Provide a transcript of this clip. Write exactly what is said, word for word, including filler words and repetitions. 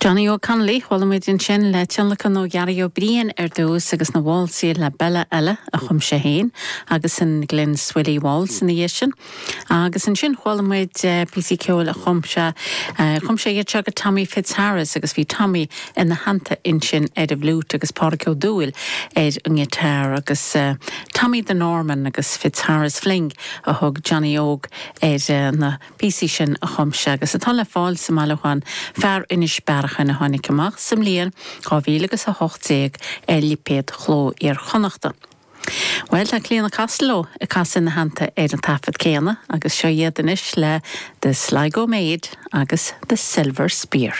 Johnny Óg Connolly chuala muid ansin le tionlacan ó Ghearaí Ó Briain ar dtús agus na válsaí La Bella eile a chum sé féin agus an Glenswilly Waltz ina dhiaidh sin. Agus ansin chuala muid eh, píosaí ceoil a chum sé eh, chum sé iad seo go Tommy Fitzharris agus bhí Tommy ina theannta ansin ar an bhfliúit agus Pádraig Ó Dúill ar an ngiotár agus uh, Tommy the Norman agus Fitzharris Fling a thug Johnny Óg ar uh, na píosaí sin a chum sé agus atá le fáil sa mbailiúchán Fear Inis Bearachain a tháinig amach sa mbliain dhá mhíle agus a hocht déag ar lipéad Chló Iar-Chonnachta. Well tá Clíona Costello ag casadh ina theannta ar an taifead céanna agus seo iad anois le The Sligo Maid agus The Silver Spear.